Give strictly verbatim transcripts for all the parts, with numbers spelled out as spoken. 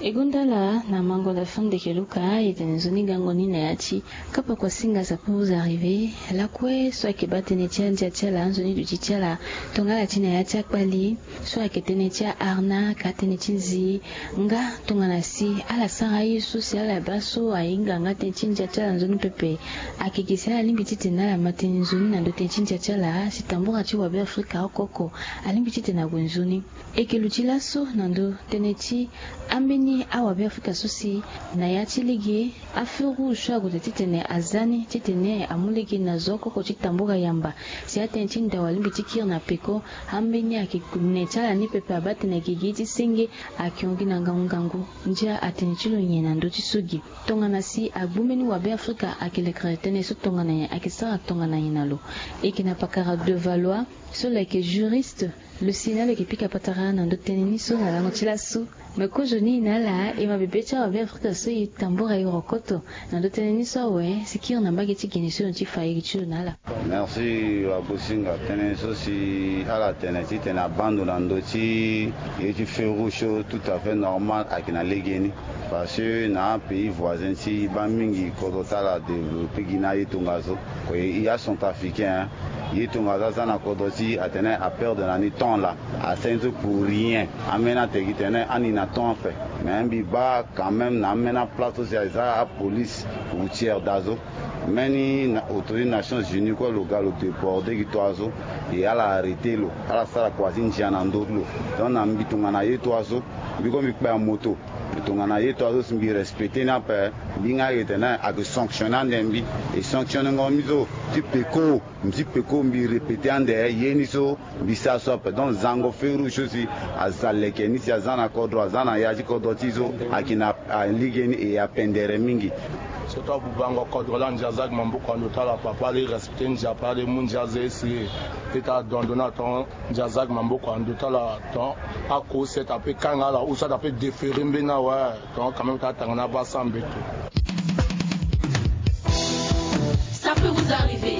E gonda ala na mango na fondeke luka e tene nzoni gango ni na ya ti kapa kua singa sapo vous arriver lakue so ayeke baa tënë ti andia ti ala nzoni duti ti ala. Tongana ala ti na ya ti akpali so ayeke tënë ti aharna ka tënë ti nzi nga tongana si ala sara aye so si ala baa so ahinga nga tënë ti ndia ti ala nzoni pepe. Ayeke gi si ala lingbi titene ala ma tënë nzoni na ndö tënë ti ndia ti ala si tambura ti wabe afrika oko oko alingbi titene ague nzoni. E yeke luti laso na ndö tënë ti ambeni awabe afrika so si na ya ti lege afeu rouge so ague daa titene aza ni titene amu lege na zo oko oko ti tambura yamba si atënë ti ndao alingbi ti kiri na peko. Ambeni ayeke ne ti ala ni pepe abaa tene gigi ti senge ayeke hon gi na ngangu ngangu. Ndia atënë ti lo nyen na ndö ti so gi? Tongana si agbu mbeni wabe afrika ayeke lekere tënë so tongana nyen ayeke sara tongana nyen na lo? E yeke na pakara de valois so lo yeke juriste. Lo si na lo yeke pika patara na ndö tënë ni so na lango ti laso. Me kozo ni na ala e ma bebe ti awabe afrika so e tambura e rokoto na ndö tënë ni so awe si kiri na mbage ti gene so lo ti fa iri ti lo na ala. Merci wabosinga. Tënë so si ala tene titene abaa ndo na ndö ti ye ti feu rouge so tout à fait normal ayeke na legeni. Parce que na apays voisin ti e baa mingi kodro ti ala adéveloppe gi na aye tongaso. Aye acentrafricain ye tongaso aza na kodro ti e atene aperdre na ni temps laa. Asara ni so pour rien. Ambeni atene gi tene ani na temps ape. Mais mbi baa quand même na ambeni aplace so si aza apolice routière daa so. Mbeni autorité nations unies kue lo ga lo déborde gi toi so. E ala arrêter lo ala sara kua ti ndia na ndö ti lo. Donc na mbi tongana ye toi so mbi kue mbi kpe amoto. Mbi tongana ye toi so si mbi respecter ni ape. Mbi nga ayeke tene ayeke sanctionner ande mbi. E sanctionner ngo mbi so ti peko. Mbi ti peko mbi répéter ande ye ni so mbi sara so ape. Donc zango feu rouge so si aza leke ni si aza na kodro aza na ya ti kodro ti e so ayeke na alege ni e apendere mingi. Surtout abubango kodro laa ndia aza gi maboko na ndo ti ala papa ala e respecter ndia papa ala e mu ndia aza e si e ti adon ndo na ton. Ndia aza gi maboko na ndo ti ala ton. Ako seta pe kanga ala ou seta pe déférer mbeni awe. Donc quand même ta tanga na basa mbeto. Ça peut vous arriver.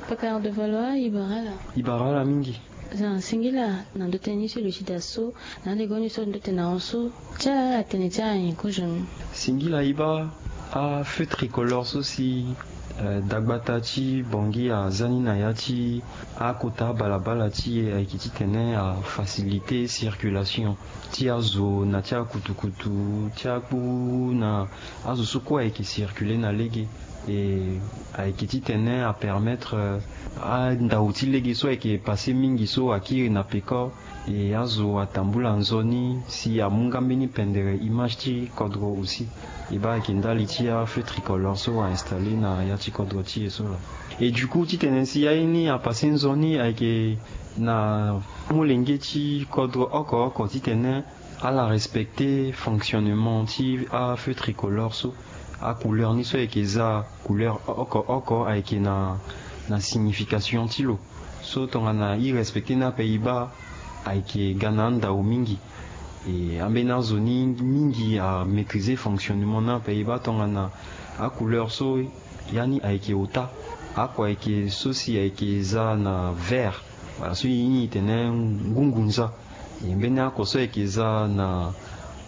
Paka de valois ibarala. Ibarala mingi. Za singila na ndo teni so lusi da so na ande goni so ndo tena on so. Ti ala ala tene ti ala nyen kozo ni? Singila iba. Afeu tricolore so si dagbata ti bongi aza ni na ya ti akota balabala ti e ayeke titene afacilité circulation ti azo na ti akutukutu ti akpu na azo so kue ayeke circuler na lege. E ayeke titene apermettre andao ti lege so ayeke passe mingi so akiri na peko. E azo atambula nzoni si amu nga mbeni pendere image ti kodro aussi. E baa ayeke ndali ti afeu tricolore so ainstaller na ya ti kodro ti e so laa. E du coup titene si aye ni apasse nzoni ayeke na molenge ti kodro oko oko titene ala respecter fonctionnement ti afeu tricolore so. Acouleur ni so ayeke za couleur oko oko ayeke na na signification ti lo. So tongana e respecter ni ape e baa ayeke ga na andao mingi. E ambeni azo ni mingi amaîtriser fonctionnement ni ape e baa tongana acouleur so ya ni ayeke ota. Ako ayeke so si ayeke za na vert. Wala so e ni e tene ngungunza. E mbeni ako so ayeke za na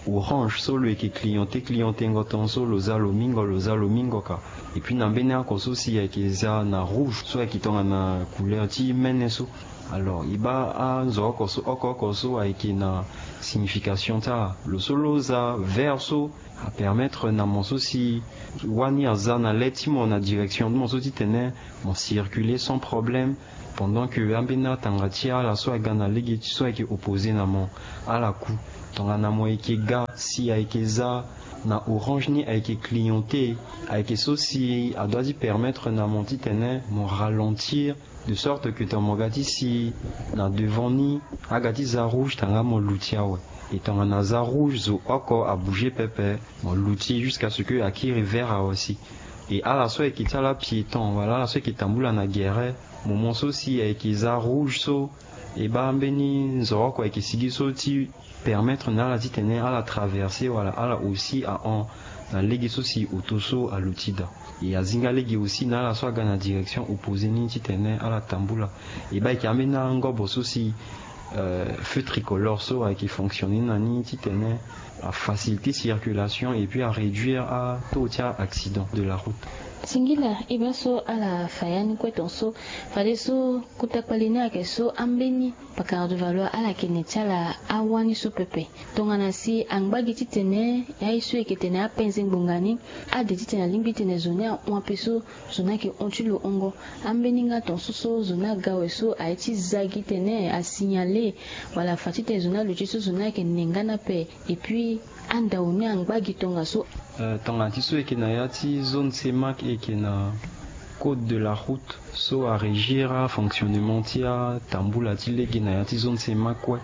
orange so lo yeke cliente clientengo ton so lo za lo mingo lo za lo mingo ka. Et puis na mbeni ako so si ayeke za na rouge so ayeke tongana couleur ti mene so. Alors e baa anzo oko so oko oko so ayeke na signification ti ala. Lo so lo za vert so apermettre na mo so si wani aza na le ti mo na direction ti mo so titene mo circuler sans problème. Pendant que ambeni atanga ti ala so aga na lege ti so ayeke opposé na mo ala ku. Tongana mo yeke ga si ayeke za na orange ni ayeke cliente ayeke so si adoit ti permettre na mo titene mo ralentir de sorte que tongana mo ga ti si na devant ni aga ti za rouge tanga mo luti awe. E tongana za rouge zo oko abouger pepe mo luti jusqu'à ce que akiri vert awe si. E ala so ayeke ti ala piéton wala ala so ayeke tambula na gere moment so si ayeke za rouge so E baa mbeni nzoro oko ayeke sigi so ti permettre na ala titene ala traverser wala ala aussi ahon na lege so si oto so aluti daa. E azinga lege aussi na ala so aga na direction opposé ni titene ala tambula. E baa ayeke ambeni angobo so si feu tricolore so ayeke fonctionner na ni titene afaciliter circulation et puis aréduire ataux ti a accident de la route. Singila e baa so ala fa ya ni kue tonso. Fadeso kota kpali ni ayeke so ambeni pakara de valoir ala yeke ne ti ala awani so pepe. Tongana si angba gi titene aye so e yeke tene apenze ngbonga ni ade titene alingbi titene zo ni ahon ape so zo ni ayeke hon ti lo hongo. Ambeni nga tonso so zo ni aga awe so aye ti za gi titene asignale wala afa titene zo ni aluti so zo ni ayeke ne nga ni ape. Et puis andao ni angba gi tongaso. Tongana ti so e yeke na ya ti zone cemac e yeke na code de la route so arégir afonctionnement ti atambula ti lege na ya ti zone cemac kue.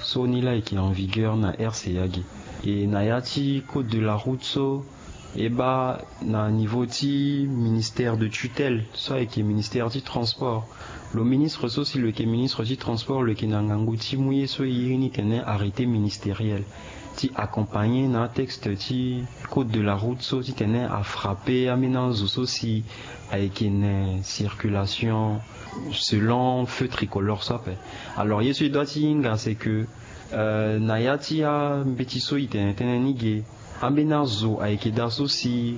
So ni laa e yeke en vigueur na rca ge. E na ya ti code de la route so e baa na niveau ti ministère de tutelle so ayeke ministère ti transport. Lo ministre so si lo yeke ministre ti transport lo yeke na ngangu ti mu ye so e iri ni tene arrêté ministériel ti accompagner na atexte ti code de la route so titene afrappe ambeni azo so si ayeke ne circulation selon feu tricolore so ape. Alors ye so e doit ti hinga c'est que na ya ti ambeti so e tene tënë ni ge, ambeni azo ayeke daa so si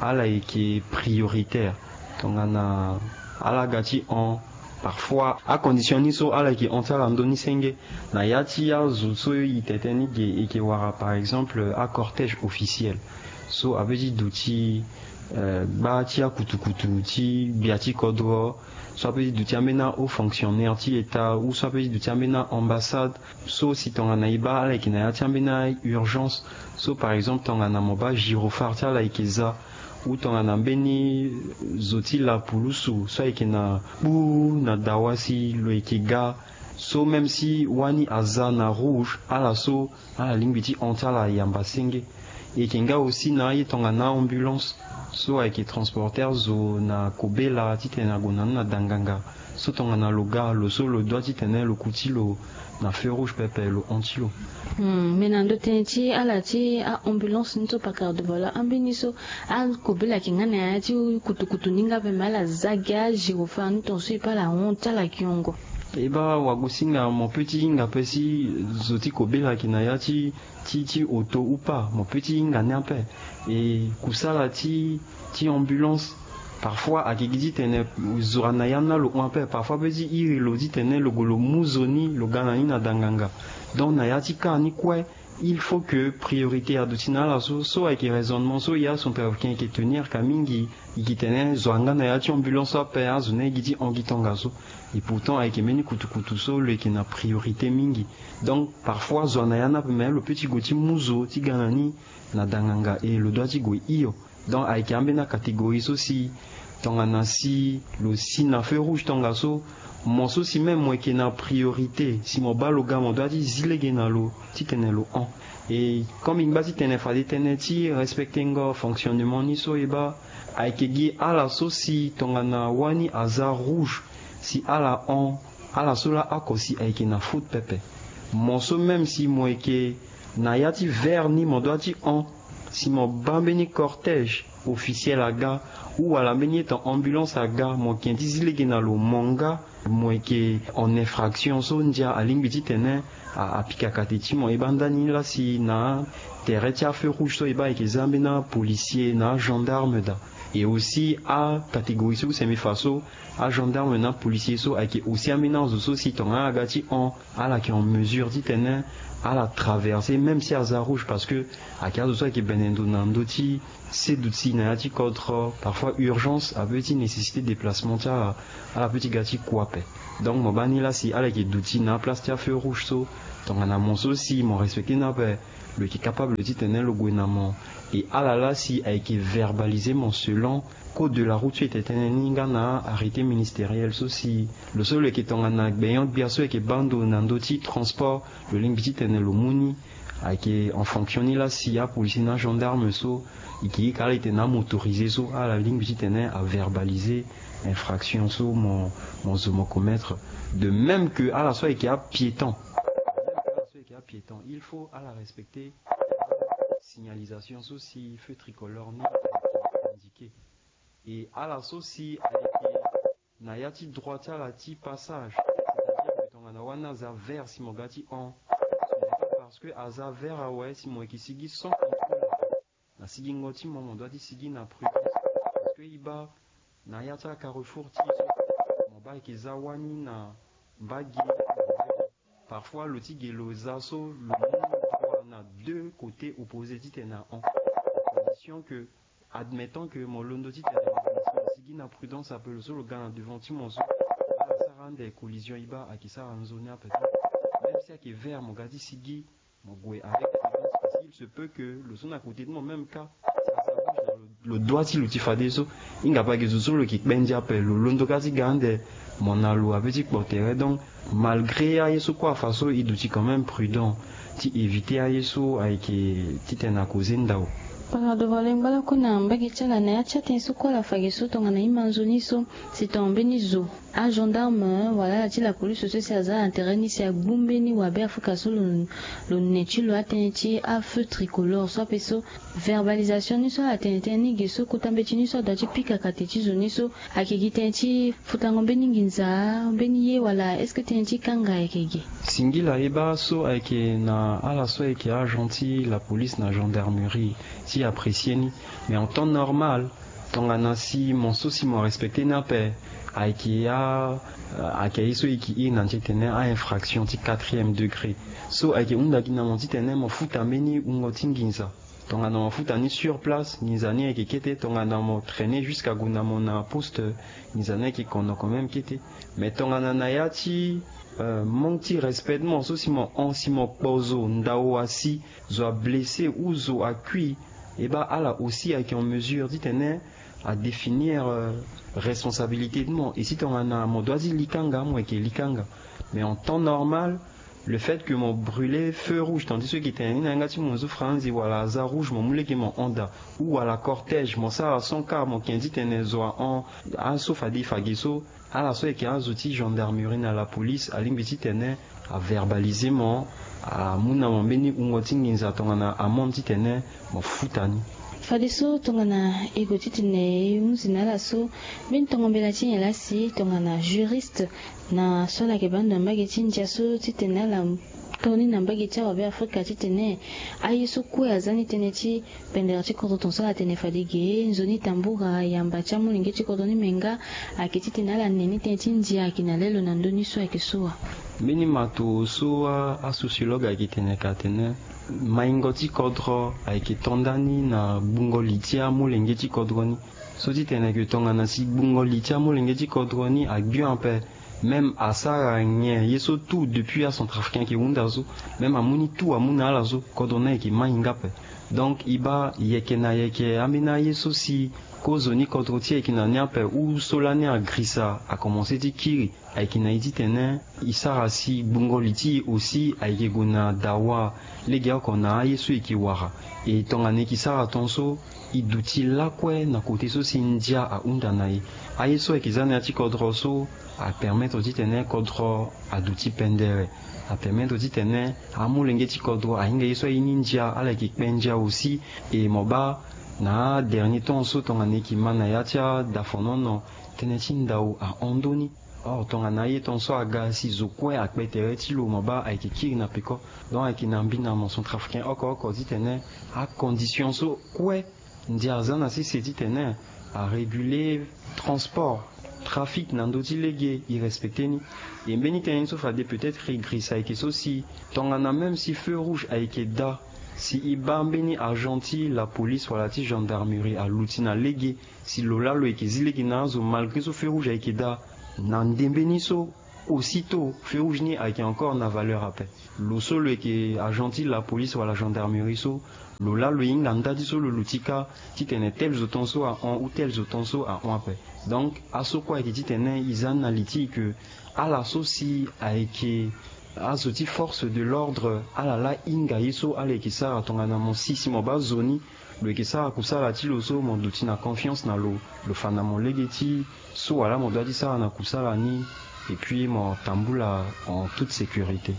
ala yeke prioritaire. Tongana ala ga ti hon, parfois acondition ni so ala yeke hon ti ala ndoni senge. Na ya ti azo so e tene tënë ni ge e yeke wara par exemple acortège officiel so ape ti duti gba ti akutukutu ti gbia ti kodro, so ape ti duti ambeni ahaut fonctionnaire ti état ou so ape ti duti ambeni aambassade. So si tongana e baa ala yeke na ya ti ambeni aurgence, so par exemple tongana mo baa gyrophare ti ala yeke za ou tongana mbeni zo ti lapulusu so ayeke na kpu na dawa si lo yeke ga, so même si wani aza na rouge, ala so ala lingbi ti hon ti ala yamba senge. E yeke nga aussi na aye tongana ambulance so ayeke transporter zo na kobela titene ague na ni na danganga. So tongana lo ga lo so lo doit titene lo kuti lo na feu rouge pepe lo hon ti lo. Me na ndo tënë ti ala ti aambulance ni so pakara de valoir ambeni so akobela ayeke nga na ya ti kutukutu ni nga ape me ala za gi agyrophare ni tonso e pe ala hon ti ala kiongo. E baa wagosinga mo pe ti hinga pe si zo ti kobela ayeke na ya ti ti ti oto ou pas mo pe ti hinga ni ape. E kusala ti ti ambulance parfois ayeke gi titene zo ana ya ni na lo hon ape parfois pe ti iri lo titene lo gue lo mu zo ni lo ga na ni na danganga. Donc na ya ti kaa ni kue il faut que priorité aduti na ala so so ayeke raisonnement so ya centrafricain ayeke tenir ka mingi. E gi tene zo anga na ya ti ambulance so ape azo ni aye gi ti hon gi tongaso. Et pourtant ayeke mbeni kutukutu so lo yeke na priorité mingi. Donc parfois zo ana ya ni ape me lo pe ti gue ti mu zo ti ga na ni na danganga e lo doit ti gue hio. Donc ayeke ambeni acatégorie so si tongana si lo si na feu rouge tongaso, mo so si même mo yeke na priorité si mo baa lo ga mo doit ti zi lege na lo titene lo hon. E comme e ngba titene fade tënë ti respectengo fonctionnement ni so e baa ayeke gi ala so si tongana wani aza rouge si ala hon, ala so laa oko si ayeke na faute pepe. Mo so même si mo yeke na ya ti vert ni mo doit ti hon, si mo baa mbeni cortège officiel aga ou wala mbeni etan ambulance aga mo yeke ti zi lege na lo mo nga mo yeke en infraction so ndia alingbi titene apika kate ti mo. E baa ndani laa si na atere ti afeu rouge so e baa ayeke za ambeni apolicier na agendarme daa. E aussi acatégorie so use mbi fa so agendarme na apolicier so ayeke aussi ambeni azo so si tongana ala ga ti hon ala yeke en mesure titene ala traverser même si aza rouge parce que ayeke azo so ayeke bene ndo na ndö ti se duti na ya ti kodro parfois urgence ape ti nécessité déplacement ti ala. Ala pe ti ga ti kua ape. Donc mo baa ni laa si ala yeke duti na aplace ti afeu rouge so tongana mo so si mo respecter ni ape lo yeke capable titene lo gue na mo. E ala laa si ayeke verbaliser mo selon Code de la route so e tene tënë ni nga na arrêté ministériel so si lo so lo yeke tongana gbenyo-gbia so yeke baa ndo na ndö ti transport, lo lingbi titene lo mu ni ayeke en fonction ni laa si apolisier na agendarme so e ke hika ala titene amotorisé so ala lingbi titene averbalise infraction so mo zo mo commettre. De même que ala so ayeke apiéton, il faut ala respecter signalisation so si feu tricolore ni indiqué. Et ala so si ayeke na ya ti droit ti ala ti passage, c'est-à-dire que tongana wani aza vert si mo ga ti hon, parce que aza vert awe si mo yeke sigi sans contrôle na sigingo ti mo, mo doit ti sigi na prudence. Parce que e baa na ya ti acarrefour ti e so mo baa ayeke za wani na mbage. Parfois lo ti ge lo za so lo mu droit na deux côtés opposés titene ahon. Condition que, admettant que mo londo titene mo sigi na prudence ape, lo so lo ga na devant ti mo so ala sara ande collision, e baa ayeke sara nzoni ape. Même si ayeke vert mo ga ti sigi mo gue avec prudence, parce qu'il se peut que lo so na côté ti mo même cas si aza rouge na lo, lo doit ti lo ti fadeso. Hinga pe ayeke zo so lo yeke kpe ndia ape, lo londo kâ ti ga ande mo na lo ape ti kpo tere. Donc malgré aye so kue afa so e duti quand même prudent ti éviter aye so ayeke titene akoze ndao. Par devant lengba lakue na mbage ti ala na ya ti atënë so kue ala fa ge so tongana e ma nzoni so si tongana mbeni zo agendarme wala ala ti la police so si aza na tere ni si agbu mbeni wabe afrika so lo ne ti lo atënë ti afeu tricolore so ape so, verbalisation ni so ala tene tënë ni ge so kota mbeti ni so adoit ti pika kate ti zo ni so ayeke gi tënë ti futango mbeni nginza mbeni ye wala est-ce que tënë ti kanga ayeke ge? Singila e baa so ayeke na ala so ayeke agent ti la police na gendarmerie ti apprécier ni. Mais en temps normal tongana si mo so si mo respecter ni ape ayeke a ayeke aye so e yeke iri na ti tene a infraction ti quatrième degré. So ayeke hunda gi na mo titene mo futa mbeni wungo ti nginza. Tongana mo futa ni sur place nginza ni ayeke kete. Tongana mo traîner jusqu'à gue na mo na poste nginza ni ayeke kono quand même kete. Mais tongana na ya ti manque ti respect ti mo so si mo hon si mo kpo zo ndao asi zo ablessé ou zo akui, e baa ala aussi ayeke en mesure titene adéfinir responsabilité ti mo. Et si tongana mo doit ti li kanga mo yeke li kanga. Mais en temps normal le fait que mo brûler feu rouge tandis so e yeke tene ni na yanga ti mo zo franzi wala aza rouge mo mu lege mo hon daa ou wala cortège mo sara sans car mo ken titene zo ahon. Aso fade e fa ge so ala so ayeke azo ti gendarmerie na la police alingbi titene averbalise mo, amu na mo mbeni wungo ti nginza tongana amande titene mo futa ni. Fadeso tongana e gue titene e hunzi na ala so mbeni tongo mbela ti nyen laa si tongana juriste na so ala yeke baa ndo na mbage ti ndia so titene ala to ni na mbage ti awabe afrika titene aye so kue aza ni tënë ti pendere ti kodro tongaso ala tene fade ge nzoni tambura yamba ti amolenge ti kodro ni me nga ayeke titene ala ne ni tënë ti ndia ayeke na lelo na ndö ni so ayeke so wa. Mbeni mato so asociologue ayeke tene ka atene maingo ti kodro ayeke to ndani na gbungo li ti amolenge ti kodro ni. So titene ayeke tongana si gbungo li ti amolenge ti kodro ni agbio ape même asara nyen ye so tout depuis acentrafricain ayeke hunda so même amu ni tout amu na ala so kodro ni ayeke maingo ape. Donc e baa yeke na yeke ambeni aye so si kozo ni kodro ti e ayeke na ni ape ou so lani agrisa akomanse ti kiri ayeke na e titene e sara si gbungo li ti e aussi ayeke gue na dawa legeoko na aye so e yeke wara. E tongana e yeke sara ton so e duti lakue na kote so si ndia ahunda na e. Aye so ayeke za na ya ti kodro so apermettre titene kodro aduti pendere. Apermettre titene amolenge ti kodro ahinga ye so aye ni ndia ala yeke kpe ndia aussi. E mo baa na adernier temps so tongana e yeke ma na ya ti adafonono tënë ti ndao ahon ndö ni. Or tongana aye ton so aga si zo kue akpe tere ti lo mo baa ayeke kiri na peko. Donc ayeke na mbi na mo centrafricain oko oko titene acondition so kue ndia aza na sese titene aréguler transport, trafic na ndö ti lege e respecter ni. E mbeni tënë ni so fade peut-être e grisa ayeke so si tongana même si feu rouge ayeke daa si e baa mbeni agent ti la police wala ti gendarmerie aluti na lege si lo laa lo yeke zi lege na azo malgré so feu rouge ayeke daa na ndembe ni so Aussi tôt feu rouge ni ayeke encore na valeur ape. Lo so lo yeke agent ti la police wala gendarmerie so, lo laa lo hinga nda ti so lo luti kâ titene tel zo ton so ahon ou tel zo ton so ahon ape. Donc aso kue ayeke titene e za ni na li ti e ke ala so si ayeke azo ti force de l'ordre, ala laa hinga ye so ala yeke sara tongana mo si si mo baa zo ni lo yeke sara kusala ti lo so mo duti na confiance na lo, lo fa na mo lege ti so wala mo doit ti sara na kusala ni. Et puis mo tambula en toute sécurité.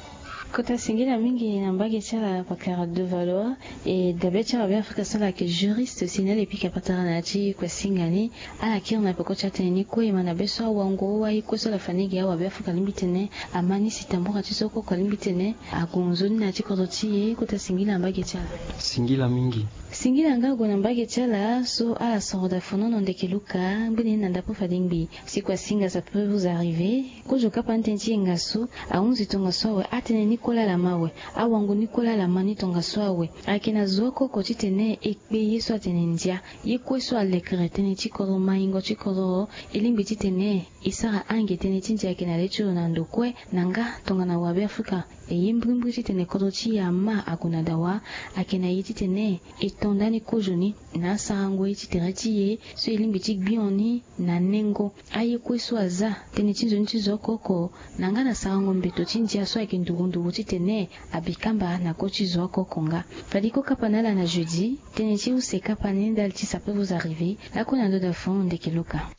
Kota singila mingi na mbage ti ala pakara de Valois. E dabe ti awabe afrika so ala yeke juriste si na ala e pika patara na ya ti kue singa ni. Ala kiri na peko ti atene ni kue e ma na be so awango aye kue so ala fa ni gi awabe afrika alingbi tene ama ni si tambura ti so koko alingbi tene agonzo ni na ya ti kodro ti e. Kota singila na mbage ti ala. Singila mingi. Singila nga ague na mbage ti ala so ala soro da fonono ndeke luka ngbene ni na ndapo fade ngbi. Si kua singa ça peut vous arriver. Kozo kapa ni tënë ti yenga so ahunzi tongaso awe, atënë ni kue laa ala ma awe, awango ni kue laa ala ma ni tongaso awe. Ayeke na zo oko oko titene e kpe ye so atene ndia. Ye kue so alekere tënë ti kodro maingo ti kodro e lingbi titene e sara ange tënë ti ndia ayeke na le ti lo na ndo kue. Na nga tongana wabe afrika e ye mbrimbri titene kodro ti e ama ague na dawa. Ayeke na ye titene e to ndani kozo ni na asarango ye ti tere ti e so e lingbi ti gbio ni na nengo. Aye kue so aza tënë ti nzoni ti zo oko oko na nga na sarango mbeto ti ndia so ayeke nduru nduru titene abi kamba na ko ti zo oko oko nga. Fade ko kapa na ala na jeudi. Tënë ti use kapa ni ndali ti ça peut vous arriver. Lakue na ndo da fon ndeke luka.